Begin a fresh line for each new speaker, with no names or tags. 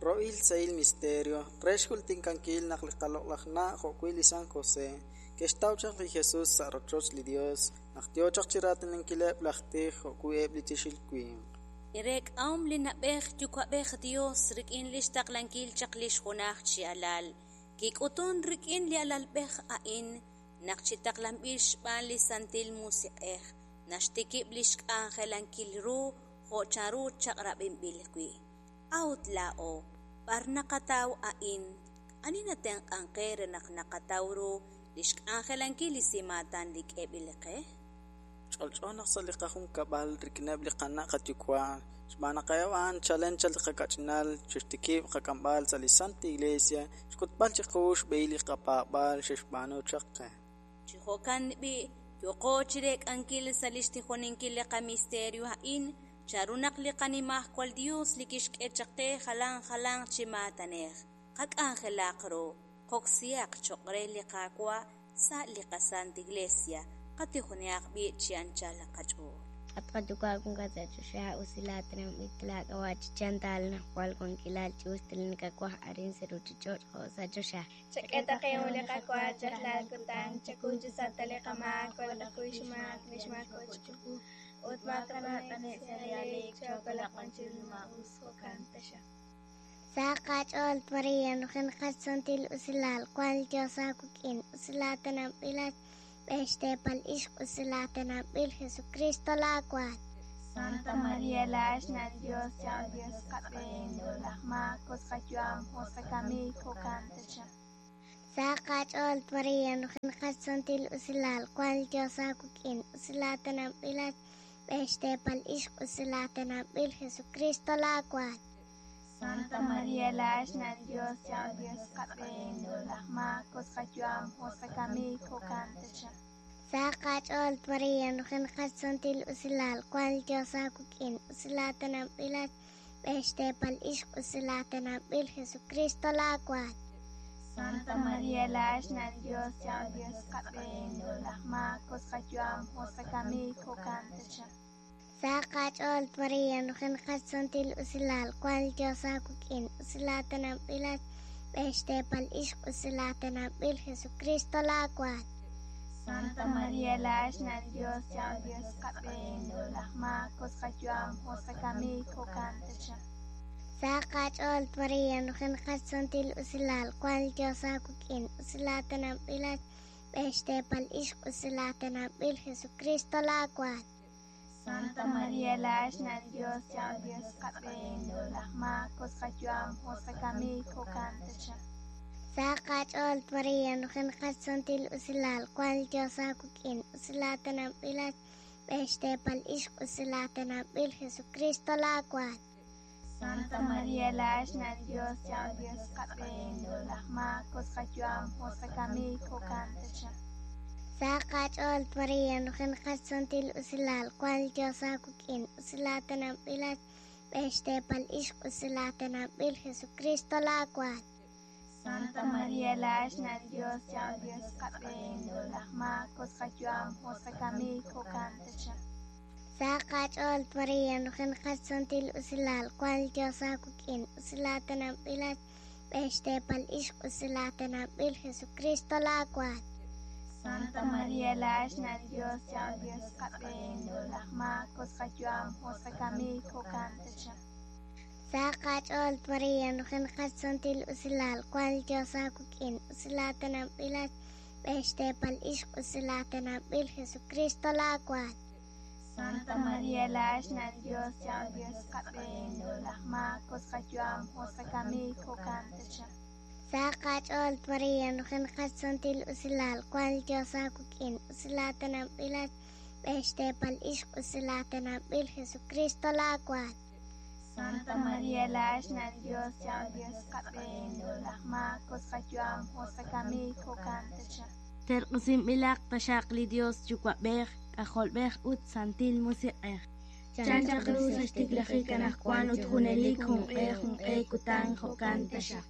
Rohil sahil misterio re xjultikankil naq li qaloq'laj na' jo'wi' li San José ke'xtaw chaq li Jesus sa' rochoch li Yos naq yo chaq chi raatinankileb' laj tij jo'wi' eb' li tiixil winq.
Li reek'ahom li na'b'ej yuwa'b'ej Dios rik'in lix taqlankil chaq lix junaj chi Alal, kik'utun rik'in li alalb'ej a'in naq chi taqlanb'il xb'aan li Santil Musiq'ej naxtikib' lix k'anjelankil ru jo' chanru chaq'rab'inb'il wi'. A'ut laa'o, b'ar naqataw a'in? Ani natenq'ank qe re naq naqataw ru lix k'anjelankil li simaatan li k'eeb'il qe?
Ch'olch'o naq sa' li qajunkab'al rik'ineb' li qana' qayuwa', xb'aan naq eb' a'an chalen chaq li qakach'inal xe'xtikib' qak'amb'al sa' li Santil Iglesia, xk'utb'al chiqu xb'ehil li qapaab'aal xe'xb'aanu chaq qe.
Chi jo'kan b'i', yooqo chireek'ankil sa' lix tijoninkil li qamisterio a'in chanru naq li qanimajwal Dios li kixk'e chaq qe jalan jalanq chi maatanej, qak'anjelaq ru, qoksihaq choq' re li Qaawa' sa' li qasant Iglesia, qatijonihaq b'i' chi anchal qach'ool.
At qaYuwa' wankat sa' choxa, usilaatinanb'il laak'ab'a' chi chantal najwal wankilal chi us ta li nakawaj arin sa' ruuchich'och' jo' sa' choxa.
Chak'e ta qe li qawa rajlal kutan, chakuy chi sa' ta li qamaak jo' naqakuy xmaak li xmaako' chiqu, ut maakanab' t'ane'k sa' li aaleek, chookolaq b'an chiru li maa'us. Jo'kan taxaq.
Sa qach'ool Maria, nujenaqat santil usilal, wank li Dios aawik'in, usilaatinanb'ilat xb'een xteepal ixq, usilaatinanb'il Jesucristo laawaal.
Santa Maria laa'ex xna' li Dios, cha'al Dios qab'een, laj maak, ut qayu'am, ut qakamik, jo'kan taxaq.
Sa qach'ool Maria, nujenaqat santil usilal, wank li Dios aawik'in, usilaatinanb'ilat xb'een xteepal ixq, usilaatinanb'il Jesucristo laawaal.
Santa Maria laa'ex xna' li Dios, cha'al Dios qab'een, laj maak, ut qayu'am, ut qakamik, jo'kan taxaq.
Sa qach'ool Maria, nujenaqat santil usilal, wank li Dios aawik'in, usilaatinanb'ilat xb'een xteepal ixq, usilaatinanb'il Jesucristo laawaal.
Santa Maria laa'ex xna' li Dios, cha'al Dios qab'een, laj maak, ut qayu'am, ut qakamik, jo'kan taxaq.
Sa qach'ool Maria, nujenaqat santil usilal, wank li Dios aawik'in, usilaatinanb'ilat xb'een xteepal ixq, usilaatinanb'il Jesucristo laawaal.
Santa Maria laa'ex xna' li Dios, cha'al Dios qab'een, laj maak, ut qayu'am, ut qakamik, jo'kan taxaq.
Sa qach'ool Maria, nujenaqat santil usilal, wank li Dios aawik'in, usilaatinanb'ilat xb'een xteepal ixq, usilaatinanb'il Jesucristo laawaal.
Santa Maria laa'ex xna' li Dios, cha'al Dios qab'een, laj maak, ut qayu'am, ut qakamik, jo'kan taxaq.
Sa qach'ool Maria, nujenaqat santil usilal, wank li Dios aawik'in, usilaatinanb'ilat xb'een xteepal ixq, usilaatinanb'il Jesucristo laawaal.
Santa Maria laa'ex xna' li Dios, cha'al Dios qab'een, laj maak, ut qayu'am, ut qakamik, jo'kan taxaq.
Sa qach'ool Maria, nujenaqat santil usilal, wank li Dios aawik'in, usilaatinanb'ilat xb'een xteepal ixq, usilaatinanb'il Jesucristo laawaal.
Santa Maria laa'ex xna' li Dios, cha'al Dios qab'een, laj maak, ut qayu'am, ut qakamik, jo'kan taxaq.
Sa qach'ool Maria, nujenaqat santil usilal, wank li Dios aawik'in, usilaatinanb'ilat xb'een xteepal ixq, usilaatinanb'il Jesucristo laawaal.
Santa Maria laa'ex xna' li Dios, cha'al Dios qab'een, laj maak, ut qayu'am, ut qakamik, jo'kan taxaq.
Sa qach'ool Maria, nujenaqat santil usilal, wank li Dios aawik'in, usilaatinanb'ilat xb'een xteepal ixq, usilaatinanb'il Jesucristo laawaal.
Santa Maria laa'ex xna' li Dios, cha'al Dios qab'een, laj maak, ut qayu'am, ut qakamik, jo'kan taxaq.
Sa qach'ool Maria, nujenaqat santil usilal, wank li Dios aawik'in, usilaatinanb'ilat xb'een xteepal ixq, usilaatinanb'il Jesucristo laawaal.
Santa Maria laa'ex xna' li Dios, cha'al Dios qab'een, laj maak, ut qayu'am, ut qakamik, jo'kan taxaq.
Terq'usinb'ilaq taxaq li Dios Yuwa'b'ej, K'ajolb'ej ut Santil Musiq'ej.
Chan chaq ru sa' xtiklajik anaqwan ut junelik junq'e junq'e kutan jo'kan taxaq.